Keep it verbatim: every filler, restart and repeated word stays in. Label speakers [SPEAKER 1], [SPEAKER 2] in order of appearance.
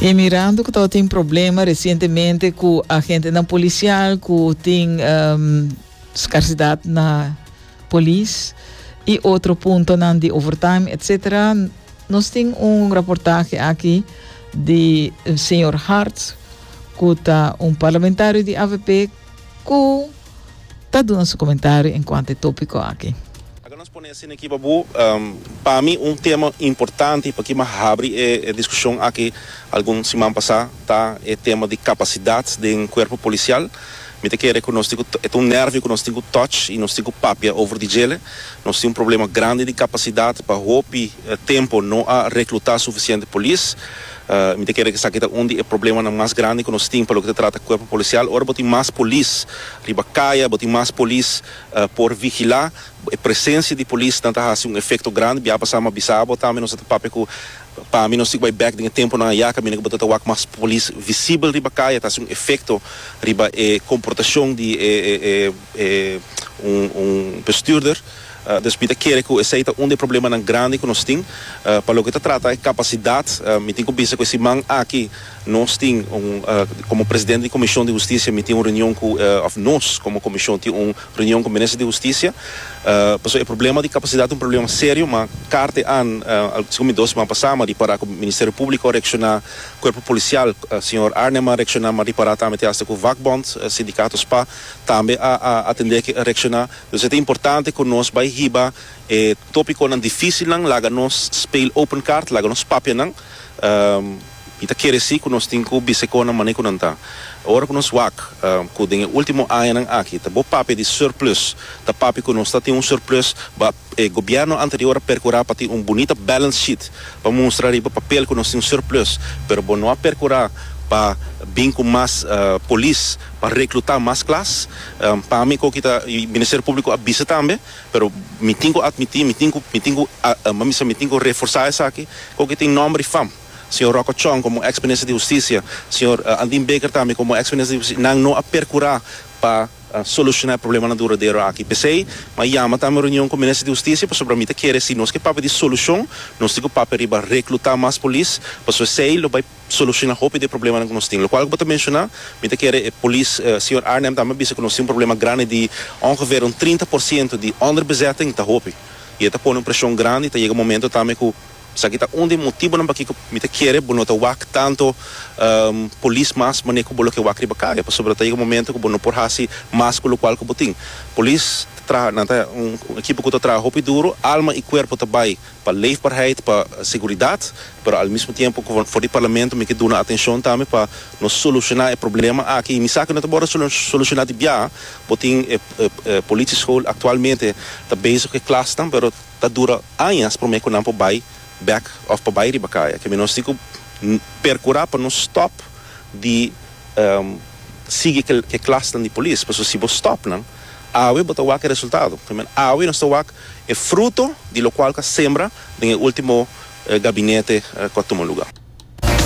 [SPEAKER 1] Y mirando cu tin problema recientemente cu agentenan policial, cu tin um, scarcedad na polis y otro puntonan di overtime, et cetera. Nos tin un reportahe aki di señor Hart, cu ta un parlamentario di A V P, cu ta dando su comentario en cuanto e topico aki.
[SPEAKER 2] Awor nos pone asina aki, Babu, um, pa mi un tema importante pa cu mi a habri e, e discusion aki algun siman pasa, ta e tema di capacidad di cuerpo policial. Mi ta kere cu nos tin un nervio cu nos tin cu touch y nos tin cu papia over di dje. Nos tin un problema grandi di capacidad, pa hopi tempo no a recluta suficiente polis. Uh, mi ta kere cu esaki ta un di e problemanan mas grandi cu nos tin pa loke ta trata cuerpo policial. Ora bo tin mas polis riba caya, bo tin mas polis uh, por vigila, e presencia di polis ta haci un efecto grandi. Biaha pasa m'a bisa bo tambe, nos ta papia cu pa mi nos bay back den temponan aya caminda cu bo ta wak mas polis visibel riba caya, ta un efecto riba e comportacion di e, e, e, un, un bestuurder. Uh, dus mi ta kere cu esey ta un di e problemanan grandi cu nos tin. Uh, pa loke ta trata e capacidad, uh, mi tin cu bisa cu e siman aki nos tin un, uh, como presidente di Comision di Husticia, mi tin un reunion cu, uh, of nos como comision tin un reunion cu minister di Husticia. Uh, e problema di capacidad ta un problema serio, m'a kaart aan, uh, segun dos siman pasa, ripara cu Ministerio Publico a reacciona, Cuerpo Policial, uh, señor Arnhem a reacciona, m'a ripara tambe hasta cu vakbond, uh, sindicato S P A, tambe a, a atende cu reacciona. Dus ta importante cu nos bay hiba eh, topiconan dificilnan, laga nos speel open kaart, laga nos papia nan. Um, y ta kere si cu nos tin cu bisa con nan manera cu nan ta. Ora cu nos wak, um, cu den ultimo añanan aki, ta bo papia di surplus, ta papia cu nos ta tin un surplus, ba, eh, gobierno anterior a percura pa tin un bunita balance sheet, pa mustra riba papel cu nos tin un surplus, pero bo no a percura pa bin cu mas uh, polis, pa recluta mas klas. Um, pa mi cu ta Ministerio Publico a bisa tambe, pero mi tin cu admiti, mi tin cu mi tin cu uh, mi tin cu reforsa esaki, cu tin nomber y fama. Señor Rocco Chong como ex-minister di Husticia, señor uh, Andin Bikker tambe como ex-minister di Husticia, nan no a percura pa uh, soluciona e problema duradero aki. P'esey, m'a yama tambe reunion cu minister di Husticia, pasobra mi ta kere si nos kier papia di solucion, nos tin cu papia riba recluta mas polis, pasobra esey lo bay soluciona hopi di e problema cu nos tin. Loke bo a menciona, mi ta kere polis, uh, señor Arnhem tambe bisa cu nos tin un problema grandi di ongeveer un trinta por ciento di onderbezetting, ta hopi. Y ta pone un presion grandi, ta yega un momento tambe cu esaki ta un di e motibonan pa mi ta kere bo no ta wak tanto um, polis mas manera cu bo ke wak riba caya, pasobra ta un momento cu bo no por hasi mas cu loke cu bo tin. Polis traha nan ta un, un ekipo cu ta traha hopi duro, alma y cuerpo ta bay pa leefbaarheid, pa seguridad, pero al mesmo tempo for di parlamento mi kier duna atencion tambe pa nos soluciona e problema aki. Mi sa cu no ta por soluciona di biaha, bo tin eh, eh, politieschool actualmente ta bezig cu klas, pero ta dura aña pa cu nan por bay back of pa bay riba caya. Cu nos tin cu percura pa no stop di um, sigui cu e klas di polis, pasobra si bo stop nan, awe bo ta wak e resultado. Awe nos ta wak e fruto di loke a sembra den ultimo eh, gabinete eh, cu a tuma luga.